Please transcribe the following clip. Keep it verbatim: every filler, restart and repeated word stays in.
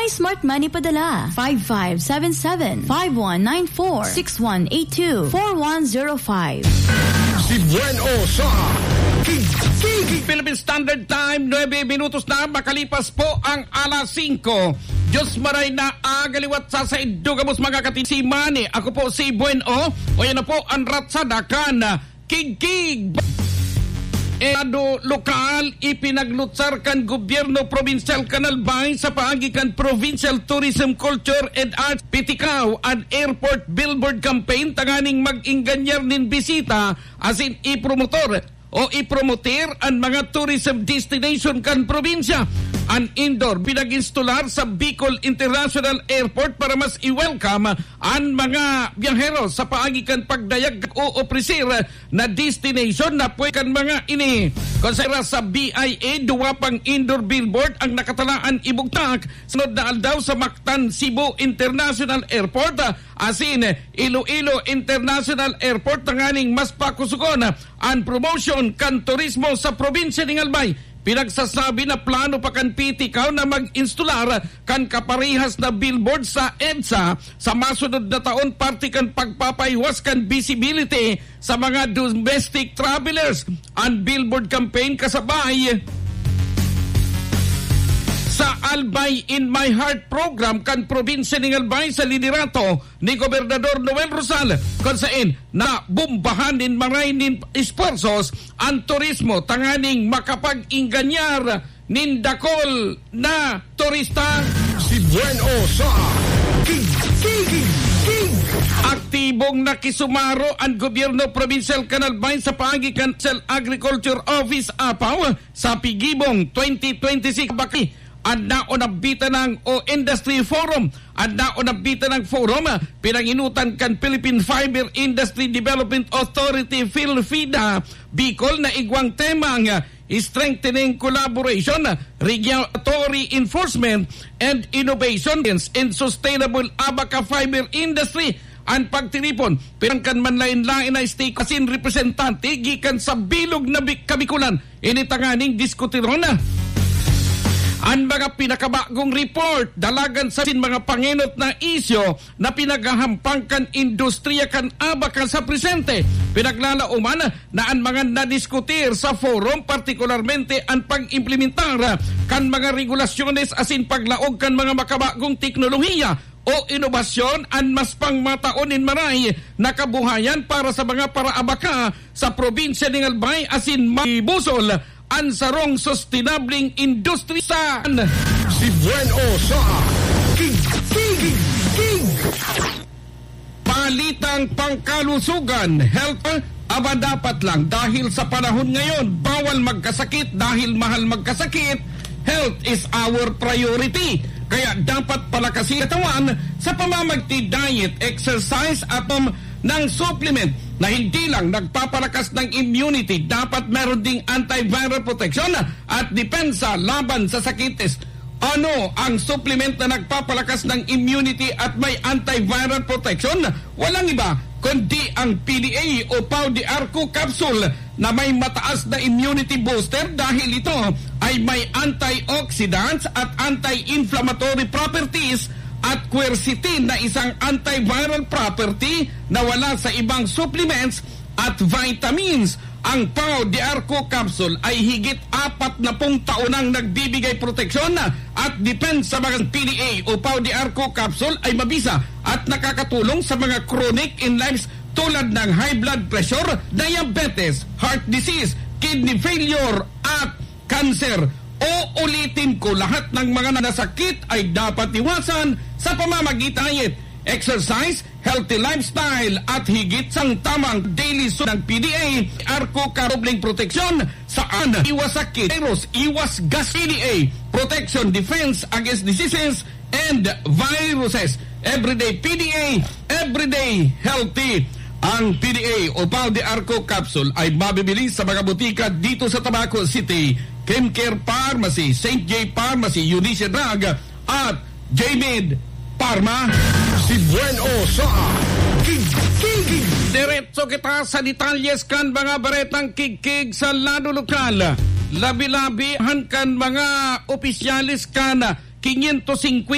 Smart Money padala, five five seven seven, five one nine four, six one eight two, four one zero five. Si Buen O sa Kigkig. Philippine Standard Time, nuebe minutos na makalipas po ang alas singko. Diyos maray na agaliwat sa saindo gabos mga kati si Manny. Ako po si Buen O. O yan na po ang ratsada kan Kigkig. Estado lokal, ipinaglutsar kan gobyerno probinsyal kan Albay sa paagi kan Provincial Tourism, Culture and Arts, P T CAW, an airport billboard campaign tanganing mag-ingganyar nin bisita asin ipromotor o ipromoter an mga tourism destination kan probinsya. An indoor pinag-instalar sa Bicol International Airport para mas i-welcome an mga biyahero sa paagi kan pagdayag o opresir na destination na pwede kan mga ini. Konsidera sa B I A, duwa pang indoor billboard ang nakatalaan ibugtak sunod na aldaw sa Mactan Cebu International Airport, ah, asin Iloilo International Airport, tanganing mas pakusugon, ah, an promotion kan turismo sa probinsya ning Albay. Pinagsasabi na plano pa kan P T CAW na mag-instalar kan kaparehas na billboard sa EDSA sa masunod na taon, parte kan pagpapahiwas kan visibility sa mga domestic travelers. An billboard campaign kasabay sa Albay in My Heart program kan probinsya ning Albay sa liderato ni Gobernador Noel Rosal, kun saen nabombahan nin maray nin esfuerzos an turismo tanganing makapag-ingganyar nin dakul na turista. Si Buen O sa Kig, Kig, Kig. Aktibong nakisumaro an gobyerno probinsyal kan Albay sa paagi kan Agriculture Office, APAO, sa Pigibong twenty twenty-six Bakay. An naon na bitanang o Industry Forum, an naon na bitanang forum, ah, pinanginutan kan Philippine Fiber Industry Development Authority, PhilFIDA, Bicol na igwang temang, ah, strengthening collaboration, regulatory enforcement, and innovation in sustainable abaca fiber industry. An pagtiripon, pirang kan manlaen-laen na stake asin representante gikan sa bilog na Bi-, Kabikulan. Ini tanganing diskutiron na an mga pinakabagong report, dalagan sa sin mga pangenot na isyu na pinaghahampang kan industriya kan abaca sa presente. Pinaglalaoman na an mga nadiskutir sa forum, partikularmente an pag-implementar kan mga regulasyones asin paglaog kan mga makabagong teknolohiya o inobasyon, an mas pangmataon nin maray na kabuhayan para sa mga paraabaka sa probinsya nin Albay asin mabusol an sarong sustenableng industriya sa Si Buen O sa Kig, Kig, Kig. Balitang pangkalusugan, health, aba dapat lang dahil sa panahon ngayon, bawal magkasakit dahil mahal magkasakit. Health is our priority. Kaya dapat palakasin katawan sa pamamagti diet, exercise at, um, ng supplement na hindi lang nagpapalakas ng immunity, dapat meron ding antiviral protection at depensa laban sa sakit. Ano ang supplement na nagpapalakas ng immunity at may antiviral protection? Walang iba kundi ang P D A o Pau de Arco capsule na may mataas na immunity booster dahil ito ay may antioxidants at anti-inflammatory properties at quercetin na isang antiviral property na wala sa ibang supplements at vitamins. Ang Pau de Arco capsule ay higit apat na pung taon nang nagbibigay proteksyon at depensa. Mga P D A o Pau de Arco capsule ay mabisa at nakakatulong sa mga chronic illness tulad ng high blood pressure, diabetes, heart disease, kidney failure, at cancer. Uulitin ko, lahat ng mga nasakit ay dapat iwasan sa pamamagitan ng diet, exercise, healthy lifestyle, at higit sa tamang daily su-, ng P D A, Arco Karobling Proteksyon, saan iwas sakit, virus, iwas gas, P D A, protection, defense against diseases, and viruses. Everyday P D A, everyday healthy. Ang P D A o Pau de Arco capsule ay mabibili sa mga butika dito sa Tabaco City, Kimcare Pharmacy, Saint J Pharmacy, Eunice Drug, at J-Med Pharma. Si Buen O sa Kig, Kig. Diretso kita sa detalyes kan mga baretang kigkig sa lado lokal. Labi-labi han kan mga opisyales kan quinientos cincuenta